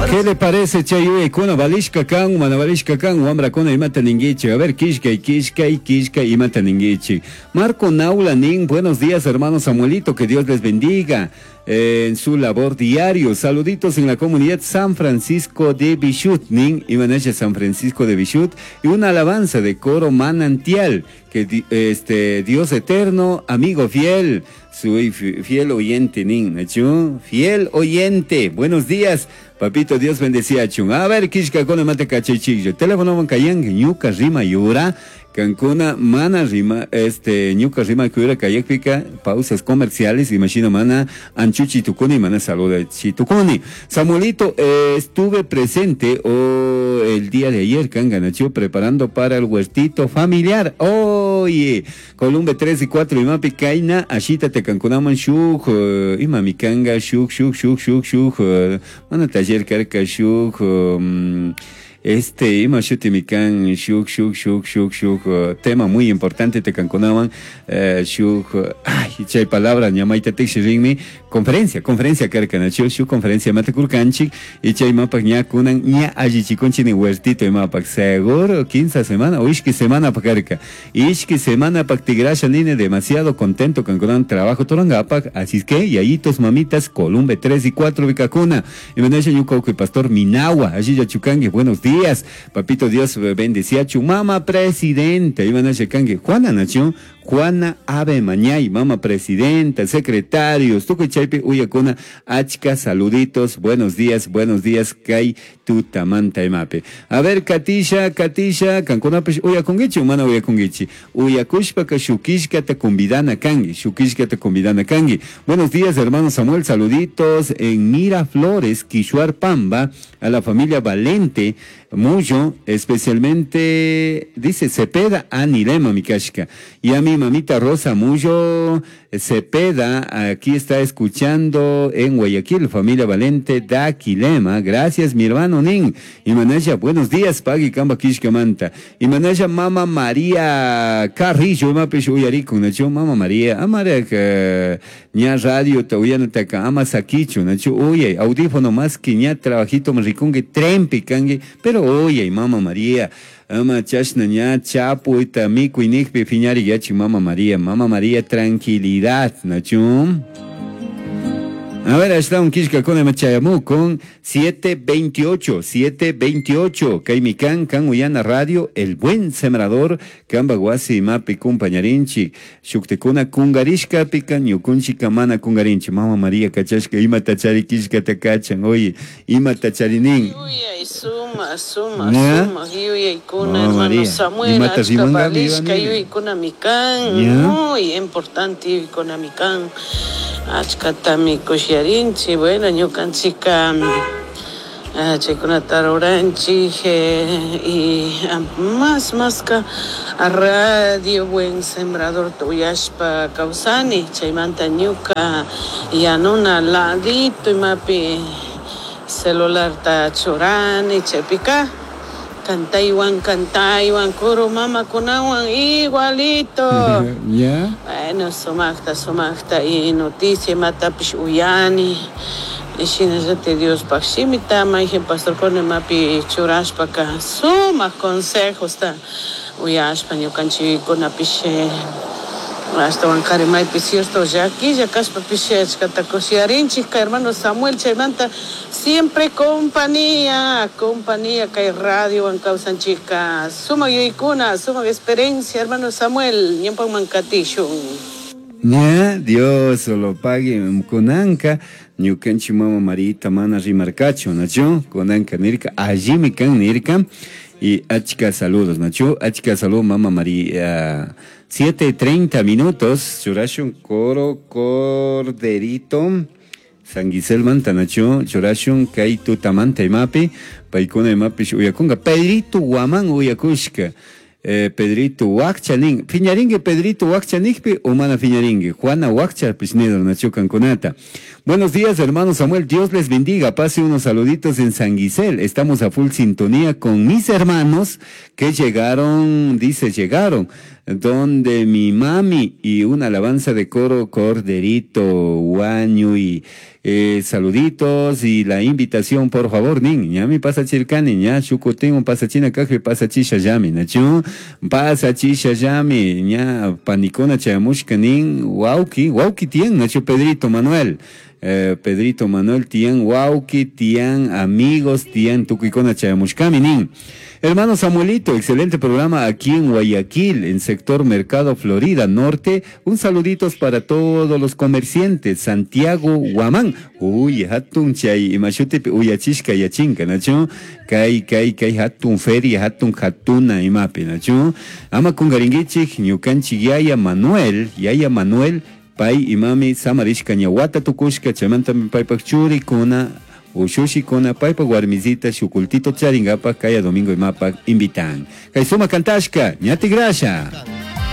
¿Qué le parece chay yuyaykuna valishka kan, mana valishka kan, wamrakuna imata ninkichik? A ver, kishkay, kishkay, kishkay, imata ninkichik? Marco Naula nin, buenos días hermano Samuelito, que Dios les bendiga en su labor diario. Saluditos en la comunidad San Francisco de Bichut, nin, imanasha San Francisco de Bichut, y una alabanza de coro manantial, que este Dios eterno, amigo fiel, soy fiel oyente, nin, ¿nachu? Fiel oyente, buenos días, papito, Dios bendecía chun. A ver, kishka kona mate kachaychikyo, teléfono man kayan, ñuka rima yura, Cancuna, mana rima, este, ñuka rima kuyura kayakpika, pausas comerciales, imagino mana, anchuchi tukuni, mana saluda chitukuni. Samuelito, estuve presente el día de ayer, Canganachu, preparando para el huertito familiar. Oye, Columbe 3 y 4, imapi kaina, ashita te cancunaman shuk, imami kanga, shuk, shuk, shuk, shuk, shuk, mana taller karka shuk, este, ima shuti mikan, shuk, shuk, shuk, shuk, shuk, tema muy importante te cancunaban, shuk, ay, chay palabra, ñamaita tixi conferencia, conferencia karkanachu, shuk conferencia matekurkanchik, y chay mapak ña kunan, ña allichikunchi ni huertito imapak, seguro, 15 semana, o ishki semana pakarka, ishki semana pak tigrasha nine, demasiado contento cancunan trabajo torangapak, así es que, yayitos, mamitas, Columbe 3 y 4, vicacuna, y menasha ñuka pastor Minagua, allí ya chukangue, buenos días, papito Dios bendecía chu mama presidenta, iban a checangue, Juana Nacho, Juana Ave Mañay, mama presidenta, secretarios, tucu chaypi uyakuna, achka, saluditos, buenos días, kai tutamanta imape. A ver, Katisha, Katisha, kankunapish uyakungichi, mana uyakungichi, uyakushpaka shukishka te convidana kangi, shukishka te convidana kangi. Buenos días, hermano Samuel, saluditos en Miraflores, Quishuar Pamba, a la familia Valente, Muyo, especialmente, dice Cepeda Anilema, mi kashka, y a mi mamita Rosa Muyo Cepeda, aquí está escuchando en Guayaquil, familia Valente Daquilema, gracias mi hermano Nin, y Manaya, buenos días, Pagui Kamba Kishkamanta, y Manaya Mama María Carrillo, mapish uyariku, nacho Mama María, amara que ña radio tauyana taka ama sakichu, nacho uyay, audífono más que ña trabajito rikungue trempi kangue, pero oye, Mama María, ama chashna ña chapu ita miku inikpi fiñari yachi Mama María, tranquilidad, nacho. A ver, está un kishka con machayamu con 728, 728, Kaimikan, kan Uyana Radio, El Buen Sembrador, Kamba Guasi, Mapi, Kumpañarinchi, Shuktekuna, Kungarishka, Pikan, Yukunchi, Kamana, Kungarinchi, Mama María, Kachashka, Ima Tachari, Kishka, Takachan, oye, Ima Tacharinin. Yuyay, suma, suma, suma, yuyay, kuna, hermano Samuel, Achka, Balishka, yuyay, kuna, mikan, muy importante, yuyay, kuna, mikan. Achkatami kushiarinchi, bueno, ñukanchika chaykunata ruranchik y más ka radio Buen Sembrador tuyashpa kawsani, chaymanta ñuka yanuna ladito imapi celularta churani, chaypika cantaywan, cantaywan, kuru mamakunawan igualito. ¿Ya? Bueno, sumaqta, sumaqta, y noticia imatapish uyani. Y shinallati Diospaj shimita, mayjin pastorkuna imapi churashpaka sumaq consejosta uyashpa ñukanchikkunapish ashtawan qhari maypi cierto llakilla kashpapish achkata kushiyarinchik hermano Samuel chaymanta siempre compañía, compañía kay radiowan kawsanchikka sumaq yuyaykuna, sumaq experiencia hermano Samuel ñawpakman katishun. Ya, Dios lo pague kunanka ñukanchik mama Marita mana rimarkachu, nachu kunanka nirka allimi kan nirka y achka saludos, nachu achka saludos mama María. 7:30 minutos, churashun coro corderito, San Gisel manta nachu, churashun kay tutamanta imapi, paykuna imapi uyakunga, Pedrito Guamán uyakushka, Pedrito Huaccha nin, fiñaringue Pedrito Huaccha nikpi, o mana fiñaringue, Juana Huaccha pishnedo nachu kankunata. Buenos días, hermano Samuel, Dios les bendiga, pase unos saluditos en San Gisel, estamos a full sintonía con mis hermanos que llegaron, dice, llegaron, donde mi mami y una alabanza de coro Corderito, Guaño y Saluditos y la invitación, por favor, nin. Ñami pasachirkani, ña shukutin pasachina kajpi pasachisha llami, nachu? Pasachisha llami, ña panikuna chayamushka nin, wauki, wauki tiyan, nachu Pedrito Manuel. Pedrito Manuel tiyan, wauki, tiyan, amigos, tiyan, tukuykuna chayamushkami nin. Hermano Samuelito, excelente programa aquí en Guayaquil, en sector Mercado Florida Norte. Un saluditos para todos los comerciantes. Santiago Guamán. Uy, hatun chay, imashutipi uyachishka yachinka, nachu? Kay, kay, kay, hatun feria, hatun hatuna imapi, nachu? Ama kungaringichik, ñukanchik yaya Manuel, yaya Manuel, pay imami samarishka ñawata tukushka, chaymantami paypak churikuna, ushushikuna, paypak warmisita, shukultito charingapak, kaya domingo imapak invitan. Kay suma kantashka, ñati grasha.